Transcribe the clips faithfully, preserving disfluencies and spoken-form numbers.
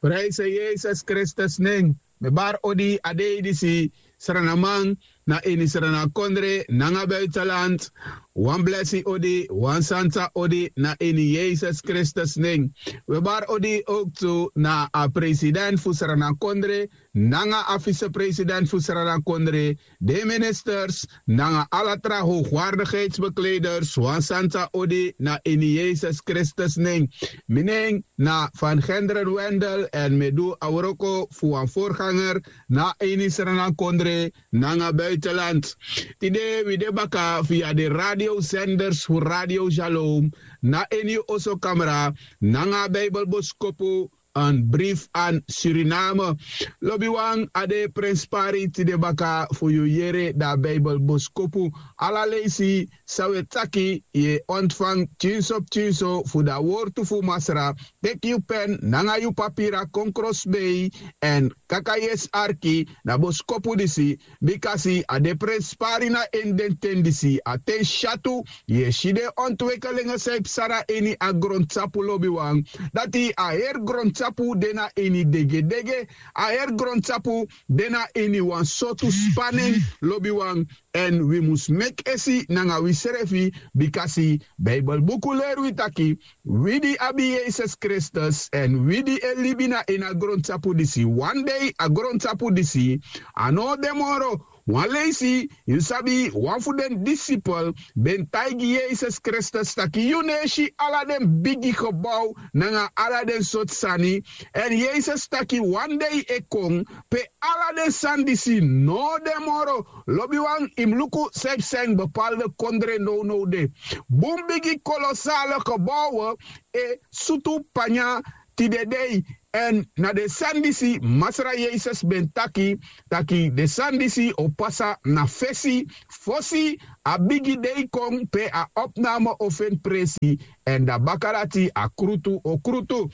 Prijse Yesus Kristus nen. Mi bari odi a dei disi, sranaman na ini sranakondre nanga buitenland. Wan blesi odi, wan santa odi na ini Yesus Kristus nen. We bari odi ook tu na a president fu sranakondre nanga a vicepresident fu sranakondre, de ministers nanga ala tra hoogwaardigheidsbekleders, wan santa odi na ini Yesus Kristus nen. Mi nen na Van Genderen Wendel en mi du a wroko fu wan voorganger na ini sranakondre nanga buitenland. Tide wi de baka via de radiozenders fu Radio Shalom na ini oso kamra nanga Bijbelboskopu, een brief aan Suriname. Lobiwan, a de prenspari tide baka fu yu yere da Bijbelboskopu. Ala leisi san we taki ye ontfang tyinso tyinso fu da wortu fu Masra. Teki yu pen nanga yu papira kon krosbei en kaka yesi arki na boskopu disi. Bikasi a de prenspari na ini den ten disi, a ten syatu yu e si den ontwekelingen san e psa na ini a grontapu lobiwan. Dati a heri grontapu de na ini degedege, a heri grontapu de na ini wan sortu spanen lobiwan. Èn wi mus meki esi nanga wisrefi, bikasi Bijbelbuku leri wi taki wi di abi Yesus Kristus èn wi di e libi na ini a grontapu disi, wan dei a grontapu disi a no o de moro. Wan leisi yu sabi wan fu den disipel ben taigi Yesus Kristus taki yu no e si ala den bigi gebou nanga ala den sortu sani. Èn Yesus taki wan dei e kon pe ala den sani disi no o de moro. Lobiwan, yu mus luku san e psa ini bepaalde kondre nownow de. Bun bigi kolosale gebouwen e sutu panya tide dei. Èn na den sani disi Masra Yesus ben taki taki den sani disi o pasa na fesi, fosi a bigi dei kon pe a opname o feni presi. Èn dan baka dati a krutu o krutu.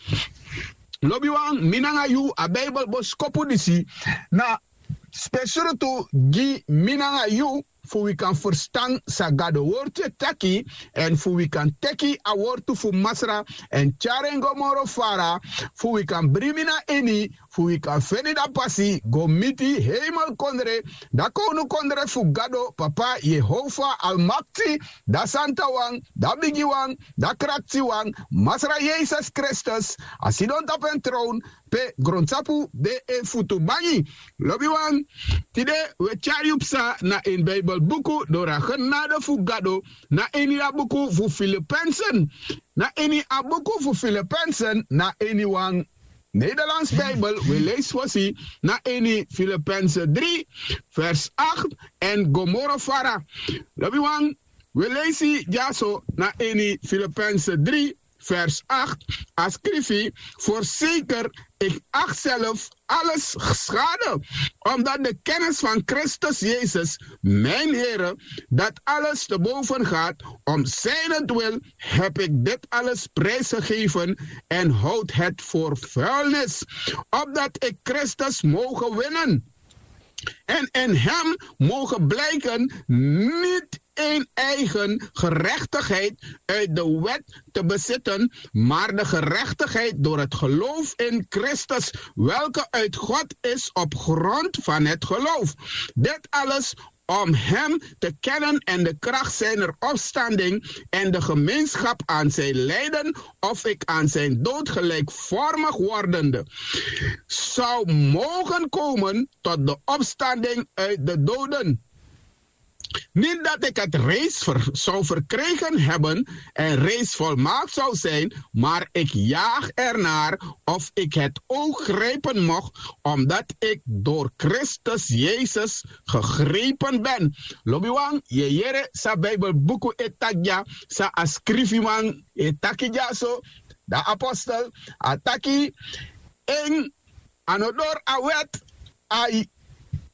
Lobiwan, mi nanga yu, a Bijbelboskopu disi na spesrutu gi mi nanga yu, fu wi kan ferstan san Gado wortu e taki, èn fu wi kan teki a wortu fu Masra èn tyari en go moro fara, fu wi kan bribi na ini, fu wi kan feni dan pasi go miti heimelkondre, dan kownukondre fu Gado Papa Yehova Almakti, dan Santawan, dan Bigiwan, dan Kraktiwan, Masra Yesus Kristus, a sidon tapu en trown pe grontapu de en futu bangi. Lobiwan, tide we tyari yu psa na ini Bijbelbuku doro a genade fu Gado, na ini a buku fu Filipensen. Na ini a buku fu Filipensen, na ini wan Nederlands Bijbel, we leisi fosi na ini Filipense dri, vers acht, èn go moro fara. Lobiwan, we leisi dyaso na ini Filipense dri, vers acht, a skrifi: Voorzeker, ik acht zelf alles schade, omdat de kennis van Christus Jezus, mijn Here, dat alles te boven gaat. Om zijnentwil heb ik dit alles prijsgegeven en houd het voor vuilnis, opdat ik Christus mogen winnen en in hem mogen blijken, niet in eigen gerechtigheid uit de wet te bezitten, maar de gerechtigheid door het geloof in Christus, welke uit God is op grond van het geloof. Dit alles om hem te kennen en de kracht zijner opstanding en de gemeenschap aan zijn lijden, of ik aan zijn dood gelijkvormig wordende zou mogen komen tot de opstanding uit de doden. Niet dat ik het reeds ver- zou verkregen hebben en reeds volmaakt zou zijn, maar ik jaag ernaar of ik het oog grijpen mocht, omdat ik door Christus Jezus gegrepen ben. Lobiwan, yu e yere san Bijbelbuku e taki dya, san a skrifiman e taki dyaso, dan apostel a taki: En a no doro a wet a e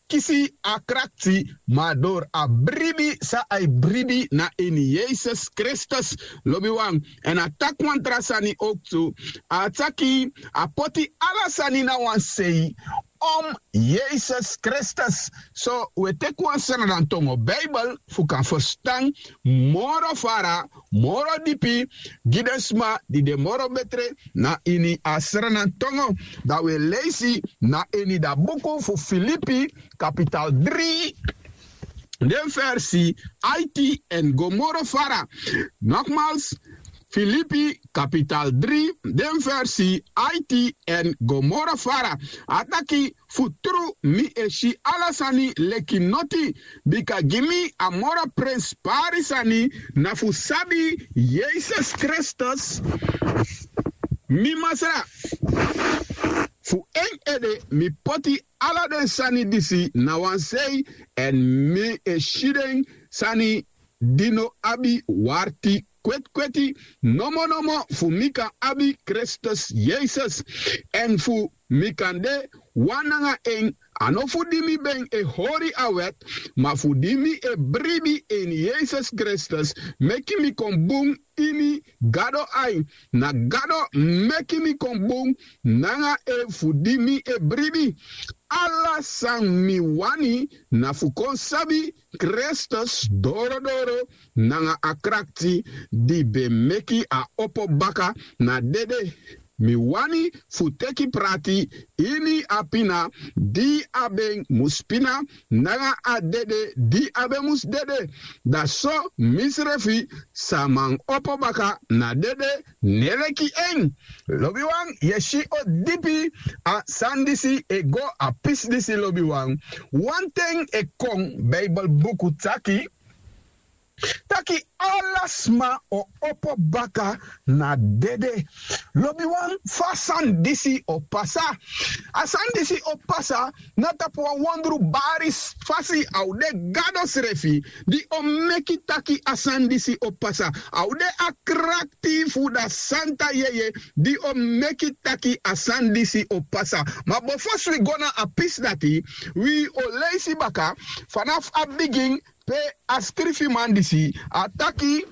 kisi a krakti, ma doro a bribi san a e bribi na ini Yesus Kristus. Lobiwan, èn a taki wan tra sani ook tu. A taki a poti ala sani na wan sei, om yesus kristus. So un e teki wan sranantongo bibel fu kan ferstan moro fara, moro dipi gi den sma di de moro betre na ini a sranantongo. Dan un e leisi na ini dan buku fu filipi kapital dri, den versi aiti èn go moro fara. Nogmals, filipi kapital dri, den versi aiti èn go moro fara. A taki: fu tru mi e si ala sani leki noti, bika gi mi a moro prenspari sani na fu sabi yesus kristus, mi masra. Fu en ede mi poti ala den sani disi na wan sei, èn mi e si den sani di no abi warti kwetikweti, nomonomo fu mi kan abi kristus yesus, èn fu mi kan de wan nanga en. A no fu di mi ben e hori a wèt, ma fu di mi e bribi ini yesus kristus, meki mi kon bun ini gado ai. Na gado meki mi kon bun nanga en fu di mi e bribi. Ala san mi wani na fu kon sabi kristus dorodoro nanga a krakti di ben meki a opo baka na dede. Mi wani fu teki prati ini a pina di a ben mus pina nanga a dede di a ben mus dede, dan so misrefi sa man opo baka na dede neleki en. Lobiwan, yu e si o dipi a sani disi e go a pisi disi, lobiwan. Wan ten e kon, bibelbuku taki taki ala sma o opo baka na dede. Lobiwan, fa a sani disi o pasa? A sani disi o pasa na tapu wan wondru bari fasi. A o de gado srefi di o meki taki a sani disi o pasa. A o de a krakti fu da santa yeye di o meki taki a sani disi o pasa. Ma bofo wi go na a pisi dati, wi o leisi baka fanafu a bigin pe a skrifiman disi a taki: